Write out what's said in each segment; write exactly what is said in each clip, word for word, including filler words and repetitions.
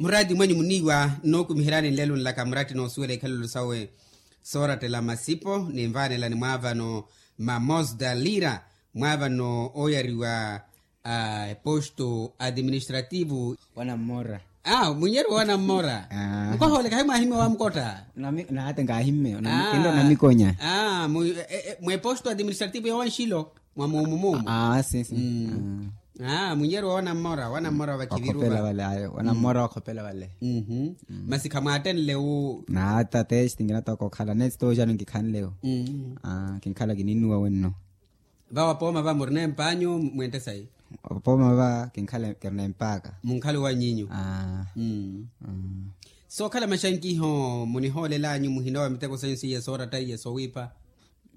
Muraati mwanyu muniiwa nnookumiheryani nlelo nlaka muraati noosuwela ikhalelo sawe soorattela masipo ninvaanelani mwaavano mamosda lira mwaavano ooyariwa eposto administrativo. Wanammora. Munyeru wanammora. Nkohoole kahi mwahimme wamukotta. Naatte nkahimme. Kinro namikonya. Mweposto administrativo ya wanxilo mwa muumumuumu. Munyeru wa wanammora wanammora vakhiviruva. Wanammora wakhopela vale. Masi khamwaattenle wu. Naatta testi nkinatoka okhala nesti toojano nkikhanle wu. Kinkhala kininuwa wenno. Vawa pooma va murina empanyu mwente sayi. Pooma va kinkhala kirina empaka. Munkhalo wa nyinyu. Sookhala maxankiho munihoolelanyu muhina wa miteko sanyu siye sooratta iye soowiipa.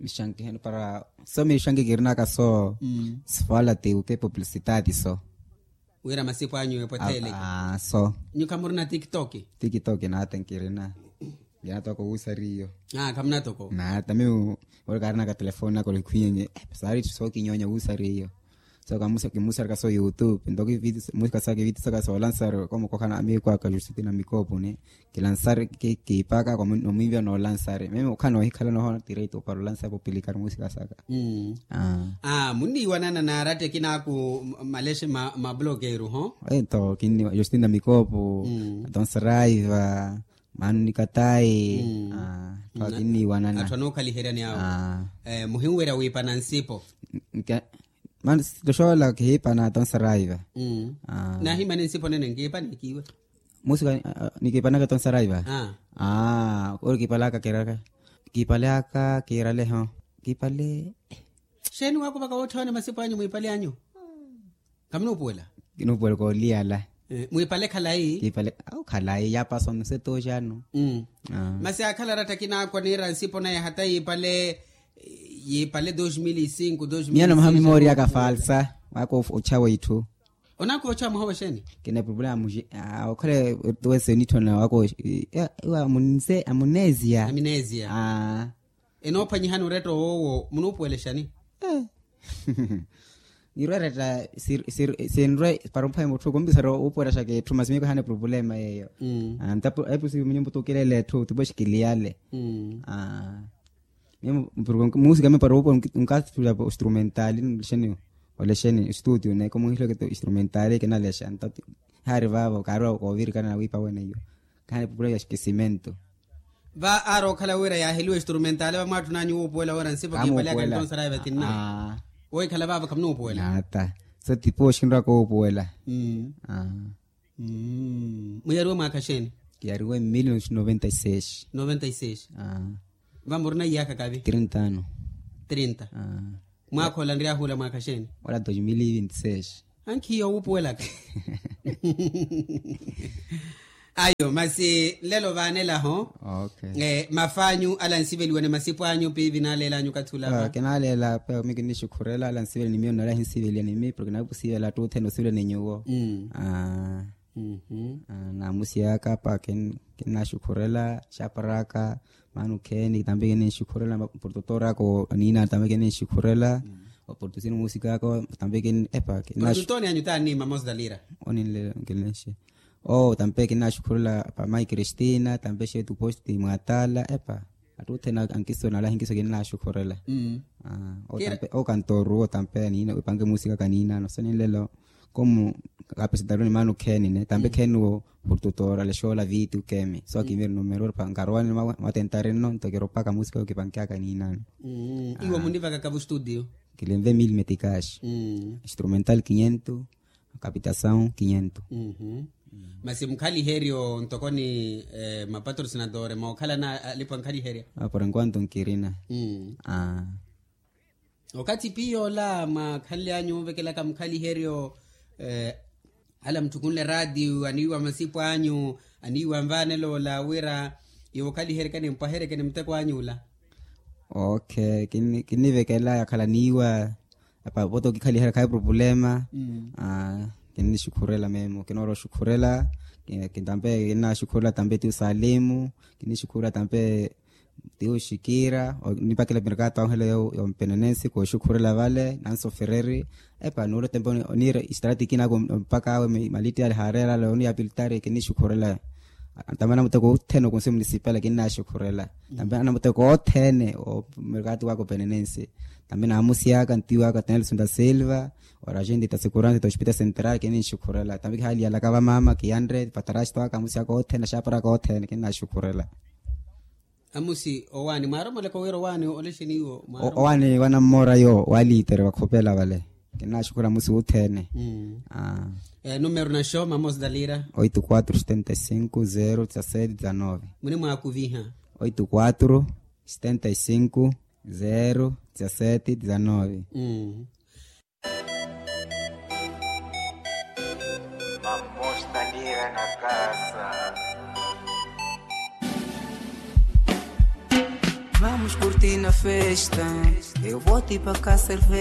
Mixankiho para so mixanki kirinaka so. Sifala tiwuke publicitati so. Wira masipo anyu epwetheleke. So nyu khamurina tiktok. Tiktok naatte nkirina. Nkinatoko wuusari iyo. Khamunatoko. Naatta miyo ori kaarinaka telefoni naka olikhwiyenye. Saari itthu sookinyonya wuusari iyo. So kimuusarika so youtube nto kivitisaka so lansari komukokhana amiiko aka justina mikoopuni. Kilansari kiipaka nomwiiviya noolansari mimi okhana ohikhala noho tireito para olansari populikari muusika saka. Munniiwanana naaratti akinaaku malexe ma blokeru ho. Ento kinniwa justina mikoopu. Atonsaraiva. Mano nikatayi. Atthu anookhaliheryani awo. Muhinwerya wiipana nsipo. Mano toxoola kihiipana atonsaraiva. Naahimani nsipo nene nkiipana ekiiwe. Musi nikipanaka tonsa raiva. Ori kipalaka kiraka kipalaka kiraleho kipale. Xeeni waakuvaka wootthawana masipo anyu mwiipale anyu? Khamunuupuwela. Kinuupuwela kooliyala. Mwiipale khalayi. Kipale khalayi yaapasa onse tooxano. Masi aakhala aratta kinaakwa niira nsipo naye hata yiipale yiipale dos mil e cinco dos mil e cinco. Miyo namaha mimooriyaka falsa. Waaka ottxawa itthu. Onaakooxa muhowa xeeni? Kina problema muxi. Okhale tuwese onitthona wako. Iwa amunesia. Aminesia. Enoophwanyihani oretta owowo munuupuwelexani? Nirwe retta sinrwe para omphwanya mutthu kumpisara wuupuwelaxaka etthu masi miyo kahana eproblema yeeyo. Ntapo epusi munyumba tukilela etthu tipoxikiliyale. Muusika mipara wuupuwela onkathula oinstrumentali nlexeni olexeni estudio neeko muhileke instrumentali kinalexa nto haari vaavo kaari koovirikana nawiipa wene iyo. Kaani pupula ya xikisimentu. Va aari okhala wira yaaheliwa instrumentali vamwaatthunanyu wuupuwela wira nsipo kiipaliyaka ntonsa raiva tinna. Wohikhala vaavo khamunuupuwela. Naata so tipo oxinraka wuupuwela. Muyariwe mwaakha xeeni? Kiyariwe mil noventa y seis. Noventa y seis. Vamurina iyaakha kavi? Trinta ano. Trinta. Mwaakha ola nryahuula mwaakha xeeni? Ola dos mil vinti seis. Ankhiya owuupuwelaka. Ayo masi nlelo vaanelaho. Mafaanyu ala nsiveliwa ni masipo anyu piivi naaleelanyu okathi ula va? Kinaaleela pe mi kinixukhurela ala nsiveliwa ni miyo nnala hinsiveliwa ni mi porke nawe pusivela attuuthene osiveliwa ni nyuwo. Naamusiyaka apa kinnaxukhurela xaparaka. Maana okheeni tampe kinixukhurela oportutor aka aniina tampe kinixukhurela. Oportusini muusikaka tampe kin epa kinnaxukhurela. Oninle nkilenxe. Oo tampe kinnaxukhurela pa mai kristina tampe xeetu posti mwaatala epa. Attuuthene ankiso nala hinkiso kinnaxukhurela. Oo kantoru oo tampe aniina epanke muusikaka aniinano so ninlelo. Komu kaapesitaru ni maana okheeni ne tampe kheeni wo portutora lexoola viitu kemi so akimiri numero pa nkarowane. Mwatentari nno nto kiropaka muusika yo kipankeaka niinano. Iwo munivakaka vustudio? Kilinve mil metikaxi. Instrumental kinyentu. Kapitasawu kinyentu. Masi mukhaliheryo ntoko ni mapatrosinatore mookhalana alipo ankhaliherya? Por enquanto nkirina. Okathi piya ola mwaakhanle anyu ovekelaka mukhaliheryo? Ala mutthukunle raatiyo aniiwa masipo anyu aniiwa nvaanelo ola wira iwo okhaliheryeke nimpwaheryeke ni muteko anyu ula. Okay. Kinnivekela yakhala niiwa apa poto kikhaliherya khayi purupulema. Kinnixukhurela memo kinoora oxukhurela. Tampe kinnaxukhurela tampe ti osalimu. Kinnixukhurela tampe Ti oxikira onipakela mirkato ahu hela yo mpenenensi kooxukhurela vale nansofereri. Epa nuula tempo oniira istaratiki naku mpaka awe malitti ale haareerala oniya piltari kinixukhurela. Tambi anamuteko othene okunsi munisipali kinnaxukhurela. Tambi anamuteko othene omirkato waka openenensi. Tambi naamusyaka ntiwaka tenelson da silva. Ora gente ta seguransa ta hospital central kinixukhurela tambi kihaliyalaka vamama kiyanre patarasto aka amusyaka othene axaparaka othene kinnaxukhurela. Amusi owaani mwaaromoleka wira owaani olexeni iwo? Owaani wanammora yo walitere wakhopela vale. Kinnaxukhura amusi wuthene. Numero naxo mama osidalira? Oito quatro setenta e cinco zero dezasete dezanove. Munimwaakuviha? Oito quatro setenta e cinco zero dezasete dezanove. Mamosta lira na kasa. Vamos curtir na festa. Eu vou te pagar cerveja.